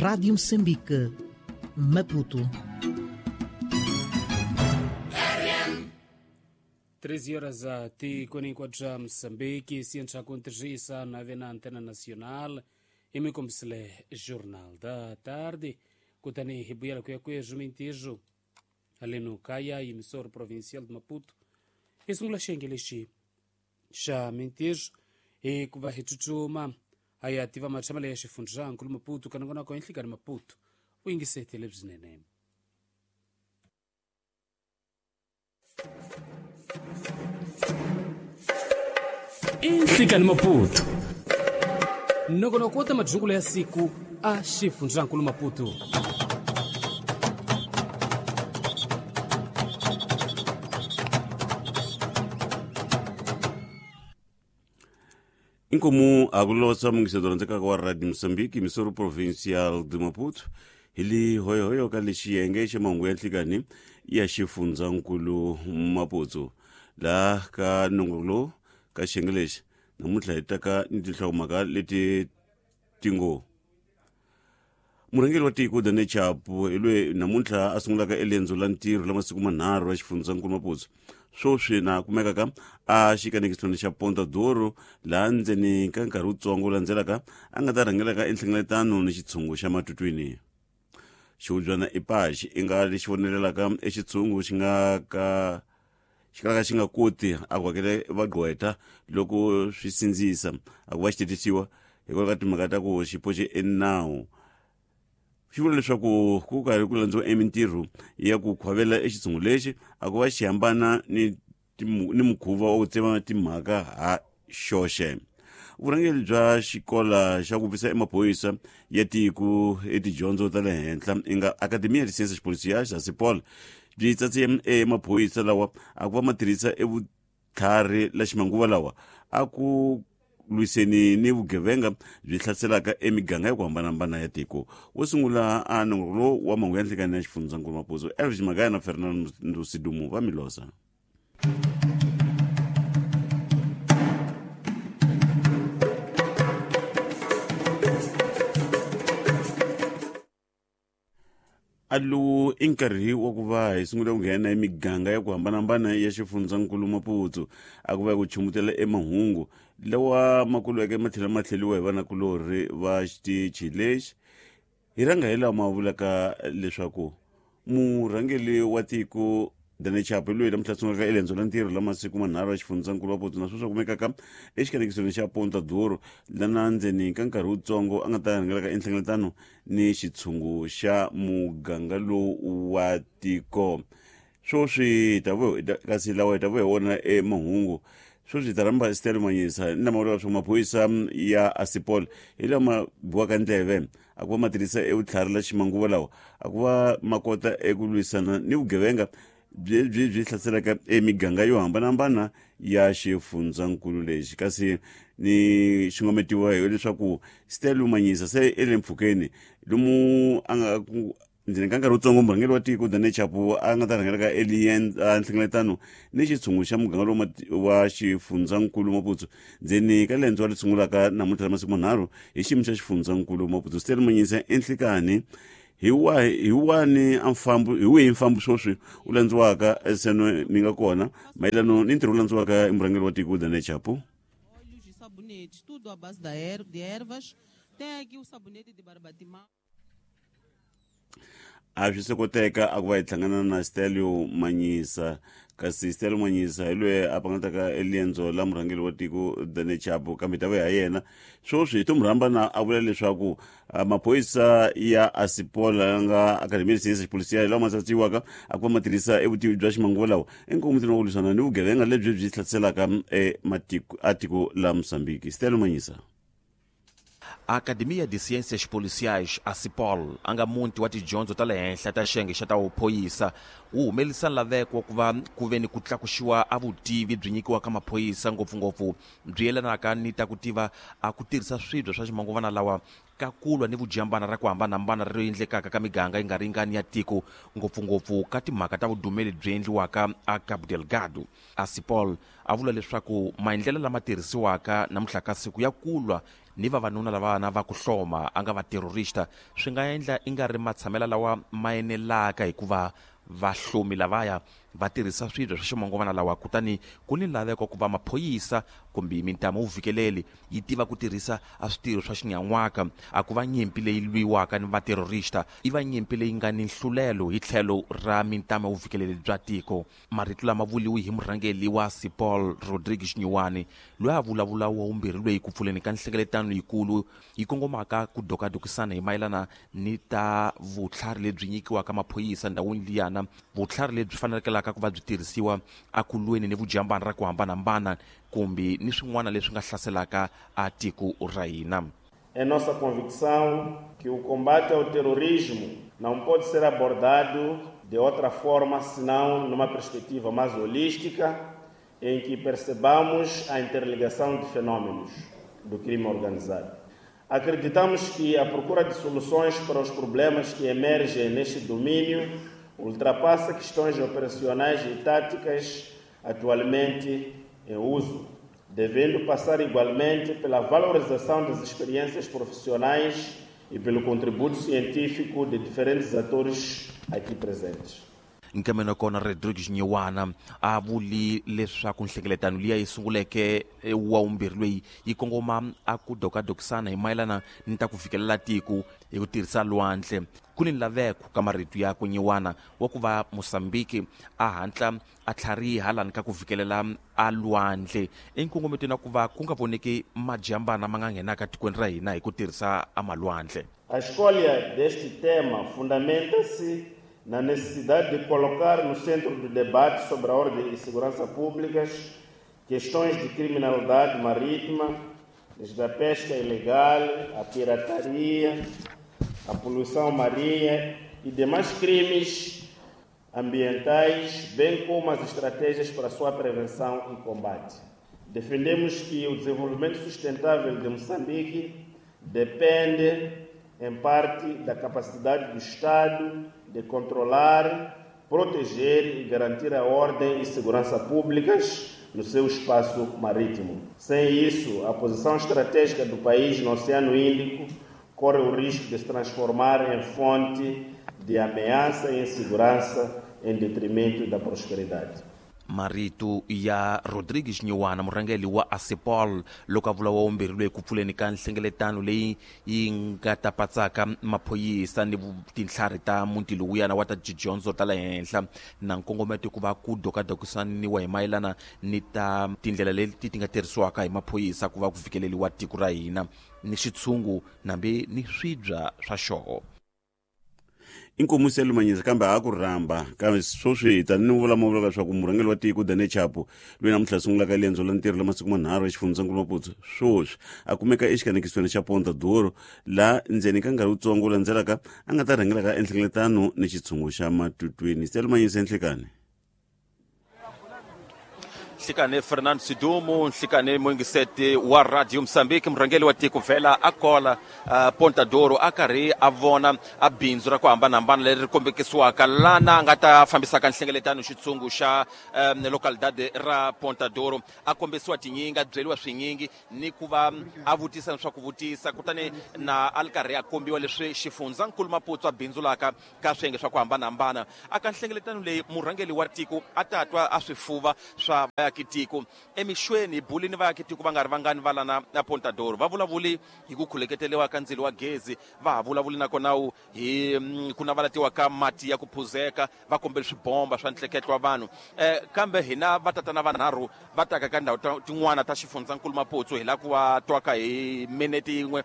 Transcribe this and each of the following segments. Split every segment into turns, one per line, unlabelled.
Rádio Moçambique, Maputo.
13 horas a ti 44 Moçambique, ciência com na na Antena Nacional, e me comsele Jornal da Tarde, kutani hibuyela kuya kwejo mintijo, ali no Caia, emissor provincial de Maputo, e sungula xenge lexi xa mintijo, e kuva hitchuchuma, aí ativa matshama leya xifundza nkulu Maputo, kanongonoko enhlikani Maputo, u yingisetele bzinene. Inhlikani Maputo nongonoko wo ta madzukulo ya siku a xifundzankulu Maputo.
Inkomu akulosa mungisedzo rhandzekaka wa Radio Moçambique, emissora provincial de Maputo, hi li hoyohoyo ka lexiyenge xa mahungu ya nhlikani ya xifundzankulu Maputo. Laha ka nongonoko lowu ka xiyenge lexi namuntlha hi taka ni tinhlokomhaka leti ti ngo murhangeri wa tiko Daniel Chapo hi loyi namuntlha a sungulaka elendzo la ntirho la masiku manharhu ra xifundzankulu Maputo. Swoswi na kumekaka a xikanekisweni xa Ponta Douro, laha ndzeni ka nkarhi wutsongo wu landzelaka a nga ta rhangelaka enhlengeletano ni xitshungu xa matutwini. Xihubyana ipaxi i nga lexi vonelelaka exitshungu xi nga ka xi kalaka xi nga koti a ku hakela vagqwetha loko swi sindzisa a ku va xi titisiwa hikwalaho ka timhaka ta ku xi poxe enawu. Xi vula leswaku ku karhi ku landziwa emintirho ya ku khwavela exitshungu lexi a ku va xi hambana ni ni mukhuva wa ku tsema timhaka ha xoxe. Vurhangeri bya xikola xa ku visa emaphorisa ya tiko etidyondzo ta le henhla i nga Academia de Ciências Policiais ACIPOL byi tsatse emaphorisa lawa a ku va ma tirhisa evutlhari la ximanguva lawa a ku lwiseni ni vugevenga byi hlaselaka emiganga ya ku hambanahambana ya tiko. Wo sungula a nongonoko lowu wa mahungu ya nhlikani ya xifundzankulu Maputo, Elvis Magaya na Fernando Sidumo va Milosa. A lowu i nkarhi wa ku va hi sungula ku nghena emiganga ya ku hambanahambana ya xifundzankulu Maputo a ku va ku chumutela emahungu lawa ma kulweke ma tlhela ma tlheliwa hi vanakulorhi va xitichi lexi. Hi rhanga hi lawa ma vulaka leswaku murhangeri wa tiko Daniel Chapo loyi namuntlha sungulaka elendzo la ntirho la masiku manharhu ya xifundzankulu Maputo na sweswi kumekaka exikanekisweni xa Ponta Douro, lana ndzeni ka nkarhi wutsongo a nga ta rhangelaka enhlengeletano ni xitshungu xa muganga lowu wa tiko. Swoswi hi ta kasi lawa hi ta vuya hi wona emahungu. Swoswi hi ta rhamba Stella Manyisa ni lama vulaka leswaku maphorisa ya ACIPOL hi lama biwaka ndleve a ku va ma tirhisa evutlhari la ximanguva lawa a ku va ma kota eku lwisana ni vugevenga byi byi hlaselaka emiganga yo hambanahambana ya xifundzankulu lexi. Kasi ni xingometiwa hi leswaku Stella Manyisa se i le mpfhukeni lomu a nga ku ndzeni ka nkarhi wutsongo murhangeri wa tiko Daniel Chapo a nga ta rhangelaka nhlengeletano ni xitshungu xa muganga lowu wa xifundzankulu Maputo ndzeni ka lendzo leri sungulaka namuntlha la masiku manharhu hi xiyimo xa xifundzankulu Maputo. Stella Manyisa, enhlikani hi wa hi wani a mfambo hi wihi mfambo swoswi u landziwaka seno ni nga kona mayelano ni ntirho wu landziwaka i murhangeri wa tiko Daniel Chapo?
Óleos e sabonetes, tudo à base da er de ervas. Tem aqui o sabonete de barbatimão.
A swi se koteka a ku va hi hlangana na Stelio Manyisa, kasi Stelio Manyisa hi loyi a pangataka eliendzo la murhangeri wa tiko Daniel Chapo, kambe ta vuya ha yena swoswi hi to mu rhamba na a vula leswaku maphorisa ya ACIPOL ya nga Academia de Ciências Policiais lawa ma tsatsiwaka a ku va ma tirhisa evutivi bya ximanguva lawa enkomutini wa ku lwisana ni vugevenga lebyi byi hlaselaka ematiko a tiko la Mozambique. Stelio Manyisa.
A Academia de Ciências Policiais, ACIPOL, a nga muti wa tidyondzo ta le henhla ta xiyenge xa ta vuphoyisa, wu humelerisa nlaveko wa ku va ku ve ni ku tlakuxiwa a vutivi byi nyikiwaka maphorisa, ngopfungopfu byi yelanaka ni ta ku tiva a ku tirhisa swibya swa ximanguvana lawa ka ku lwa ni vujambana ra ku hambanahambana ri endlekaka ka miganga yi nga ringani ya tiko, ngopfungopfu ka timhaka ta vudumeli byi endliwaka a Cabo Delgado. ACIPOL a vula leswaku maendlelo lama tirhisiwaka namuntlha ka siku ya ku lwa ni vavanuna lavana va ku hloma a nga vaterrorista swi nga endla i nga ri matshamela lawa ma enelaka hikuva vahlomi lavaya va tirhisa swibye swa ximangovana lawa. Kutani ku ni laveko ku va maphorisa kumbe mintama wu vhikeleli yi tiva ku tirhisa a switirho swa xinyan'waka. A ku va nyimpi leyi lwiwaka ni vaterrorista, i va nyimpi leyi nga ni nhlulelo hi tlhelo ra mintama wu vhikeleli bya tiko. Marito lama vuliwi hi murhangeri wa Sipol Rodrigues Nyiwani, loyi a vulavula wa vumbirhi loyi ku pfuleni ka nhlengeletano yikulu yi kongomaka ku dokadokisana hi mayelana ni ta vutlhari lebyi nyikiwaka maphorisa ndhawini liyana, vutlhari lebyi fanekelaka ku va byi tirhisiwa akulweni ni vujambana ra ku hambanahambana kumbe ni swin'wana leswi nga hlaselaka a tiko ra hina.
É nossa convicção que o combate ao terrorismo não pode ser abordado de outra forma senão numa perspectiva mais holística, em que percebamos a interligação de fenômenos do crime organizado. Acreditamos que a procura de soluções para os problemas que emergem neste domínio ultrapassa questões operacionais e táticas atualmente em uso, devendo passar igualmente pela valorização das experiências profissionais e pelo contributo científico de diferentes atores aqui presentes.
Nkameno kona Rodrigues Nyiwana a vuli leswaku nhlengeletano liya yi sunguleke wa vumbirhi loyi yi kongoma a ku dokadokisana hi mayelana ni ta ku fikelela tiko hi ku tirhisa lwandle. Ku ni laveko ka marito ya ku Nyiwana wa ku va Mozambique a hatla a tlhariha lani ka ku fikelela a lwandle enkongometweni wa ku va ku nga voneki majambana ma nga nghenaka tikweni ra hina hi ku tirhisa a malwandle.
A escolha deste tema fundamenta-se na necessidade de colocar no centro do debate sobre a ordem e segurança públicas questões de criminalidade marítima, desde a pesca ilegal, a pirataria, a poluição marinha e demais crimes ambientais, bem como as estratégias para sua prevenção e combate. Defendemos que o desenvolvimento sustentável de Moçambique depende, em parte, da capacidade do Estado de controlar, proteger e garantir a ordem e segurança públicas no seu espaço marítimo. Sem isso, a posição estratégica do país no Oceano Índico corre o risco de se transformar em fonte de ameaça e insegurança em detrimento da prosperidade.
Marito ya Rodrigues Nyiwana, murhangeri wa Asipol, loko a vula wa vumbirhi loyi ku pfuleni ka nhlengeletano leyi yi nga ta patsaka maphorisa ni tintlhari ta muti lowuyana wa ta tidyondzo ta le henhla na nkongometo ku va ku dokadokisaniwa hi mayelana ni ta tindlela leti ti nga tirhisiwaka hi maphorisa ku va ku fikeleriwa tiko ra hina ni xitshungu nambe ni swibya swa xoho.
Inkomu Selumanyisa kambe a ku rhamba kambe sweswi hi ta ni vula mavula leswaku murhangeri wa tiko Daniel Chapo loyi namuntlha sungulaka riendzo la ntirho la masiku manharhu exifundzhankulu Maputo sweswi a kumeka exikanekisweni xa Ponta Douro laha ndzeni ka nkarhi wutsongo wu landzelaka a nga ta rhangelaka enhlengeletano ni xitshungu xa Matutwini. Selumanyisa, enhlekani.
Nhlikane Fernando Sidumo, nhlikane muingiseti wa Radio Mozambique, murhangeri wa tiko vhela a kola Ponta Douro a karhi a vona a bindzu ra ku hambanahambana leri ri kombekisiwaka lana a nga ta fambisaka nhlengeletano xitshungu xa localidade ra Ponta Douro. A kombisiwa tinyingi, a byeriwa swinyingi ni ku va a vutisa swa ku vutisa, kutani na a ri karhi a kombiwa leswi xifundzankulu Maputo a bindzulaka ka swiyenge swa ku hambanahambana. A ka nhlengeletano leyi murhangeri wa tiko a ta twa a swifuva swa vaakitiko emixweni buli ni vaakitiko va nga ri vangani va lana na Ponta Douro va vulavuli hi ku khuleketeriwa ka ndzilo wa gezi, va ha vulavuli nakona hi ku navalatiwa ka mati ya ku phuzeka, va kombela swibomba swa ntleketlo wa vanhu. Kambe hina vatatana vanharhu va taka ka ndhawu tin'wana ta xifundzankulu Maputo hi lava ku va twaka hi minete yin'we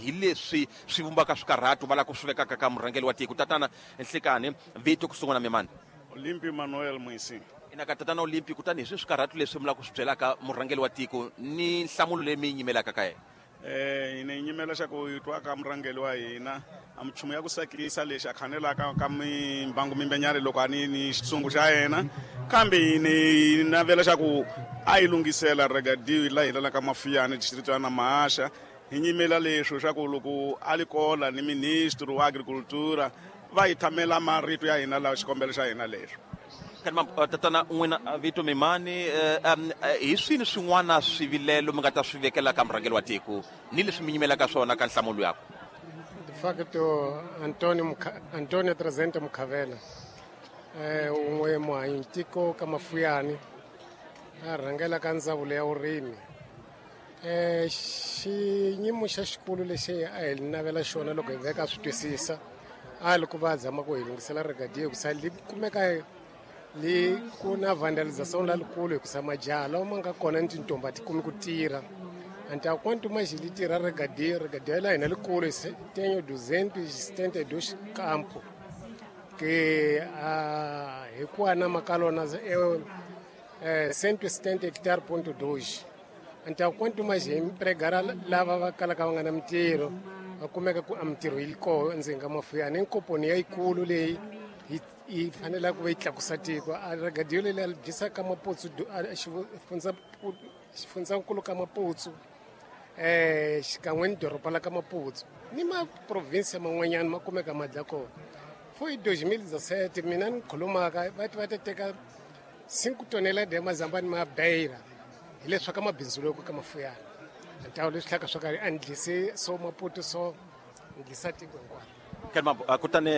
hi leswi swi vumbaka swikarhatu va lava ku swi vekaka ka murhangeri wa tiko. Tatana Nhlikani, vito ku sungula mimani?
Olympio Manuel Muisi.
Ina ka tatana Olympio, kutani hi swi swikarhatu leswi mi lava ku swi byelaka murhangeri wa tiko ni nhlamulo leyi mi yi nyimelaka ka yena?
Hina hi nyimela xa ku hi twa ka murhangeri wa hina a minchumu ya ku sakisa lexi a khanelaka ka mimbangu mimbenyana loko a ni ni xitshungu xa yena, kambe hi navela xa ku a yi lunghisela regadio la hi lalaka Mafiyani district ya Namahasha. Hi nyimela leswo xa ku loko a li kola ni ministro wa agricultura va hi thamela marito ya hina lawa xikombelo xa hina leswo.
Tatana n'wina vito Mimani, hi swini swin'wana swivilelo mi nga ta swi vekela ka murhangeri wa tiko ni leswi mi nyimelaka swona ka nhlamulo yakwe?
De facto Antonio Trezente Mukhavela, un'we muhanyi tiko ka Mafuyani, a rhangela ka ndzawulo ya vurimi. Xinyimo xa xikulu lexi a hi navela xona loko hi veka swi twisisa a li ku va zama ku hi lunghisela rigadiyo ku sa li kumeka li ku na vandalization lalikulu hikusa majaha lawa ma nga kona ni tintombi a ti kumi ku tirha. Anta quanto mais li tirha regadio, regadio la hina likulu tenho 272 campo que hi ku anama ka lona 170 hectare ponto 2. Então quanto mais empregar lava va kalaka va nga na mintirho va kumeka ku a mintirho yi koho endzeni ka Mafuyani inkomponi yayikulu leyi yi fanele ku va yi tlakusa tiko. A regadio leyi a dyisa ka Maputsu, xifundzankulu ka Maputsu, xikan'we ni doroba la ka Maputsu ni maprovinsi man'wanyana ma kumeka ma dla kona. Foi 2017 mina ni khulumaka va ti va ta teka 5 tonelada ya mazambani ma beira hileswi ka mabindzu loko ka Mafuyani. Ntawo leswi tlhaka swo karhi a ni dlisi so Maputo so ni dlisa tiko hinkwaro.
Kutani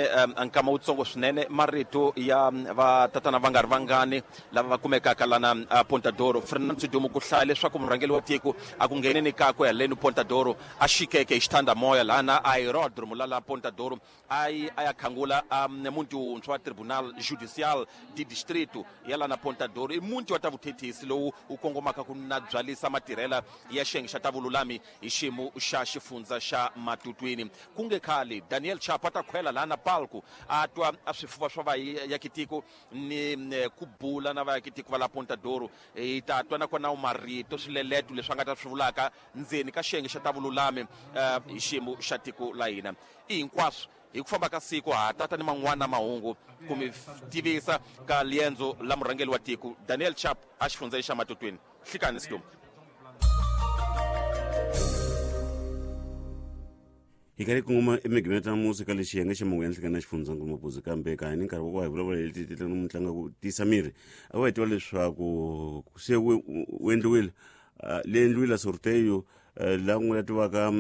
nkama wutsongo swinene marito ya vatatana va nga ri vangani lava va kumekaka lana Pontadoro. Fernando Sidumo, ku hlaya leswaku murhangeri wa tiko a ku ngheneni kakwe haleni Pontadoro a xikeke hi xithandamoya lana aerodromo la Pontadoro a ya khangula muti wuntshwa wa Tribunal Judicial de Distrito ya lana Pontadoro. I muti wa ta vuthethisi lowu wu kongomaka ku na byalisa matirhela ya xiyenge xa ta vululami hi xiyimo xa xifundza xa Matutwini. Ku nge khale Daniel Chapo a ta khwela lana palco a twa a swifuva swa vayakitiko ni ku bula na vayakitiko va la Pontadoro. Hi ta twa nakona marito swileleto leswi a nga ta swi vulaka ndzeni ka xiyenge xa ta vululami hi xiyimo xa tiko la hina. I hinkwaswo hi ku famba ka siku ha tata ni man'wana mahungu ku mi tivisa ka liendzo la murhangeri wa tiko Daniel Chapo a xifundzeni xa Matutwini. Hlikani Sidumo.
Hi karhi kongoma emigimeta musika lexi xiyenge xa mahungu ya nhlekani na xifundzankulu Mapuzu, kambe ka ni nkarhi wa ku va hi vulavula hi leti mutlangi ku tiyisa miri a va hi tiva leswaku se wu endliwile le endliwile sorteio la n'we la tivaka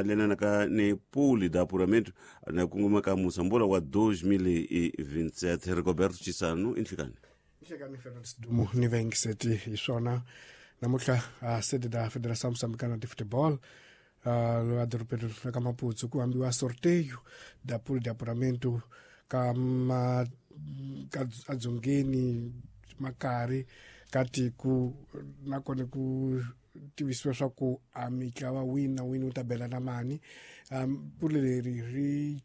lenanaka ni puli da apuramento na kongoma ka musambola wa 2027. Rigoberto Chisano i nhlikani.
Nhlekani Fernando Sidumo ni vaingiseti hi swona namuntlha sede da Federação Moçambicana de Futebol la dorobeni ra ka Maputsu ku hambiwa sorteio da pool de apuramento ka ka adzongeni makari ka tiko nakona ku tivisiwa swa ku a mitlawa wini na wini wu ta bela na mani. Puli leri ri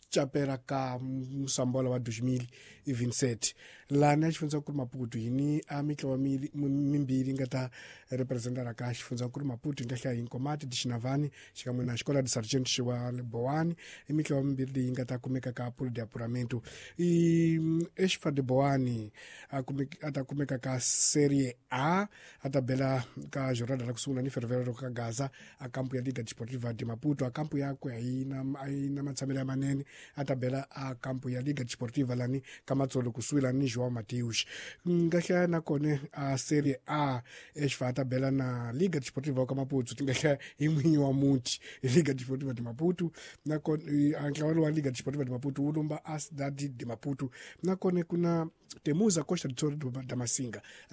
capela ka musambola wa 2027 lana xifundzankulu Maputo yini a mitlawa mimbirhi nga ta representana ka xifundzankulu Maputo yi nga hlaya hi Nkomati de Xinavani xikan'we na Xikola de Sargento xiwa Boani. I mitlawa mimbirhi leyi nga ta kumeka ka pool de apuramento. I Exfa de Boani a ta kumeka ka Serie A a ta bela ka jornada la ku sungula ni Ferroviário ka Gaza a kampu ya Liga Desportiva de Maputo. A kampu yakwe a yi na matshamelo ya manene a ta bela a kampu ya Liga Desportiva lani ka Matsolo kusuhi lani ni João Mateus. Nga hlaya nakona a Serie A Exfa a ta bela na Liga Desportiva ka Maputo ti nga hlaya hi n'winyi wa muti Liga Desportiva de Maputo nakona a ntlawa wa Liga Desportiva de Maputo wu lumba a Cidade de Maputo. Nakona ku na Temuza Costa do Toro da Masinga.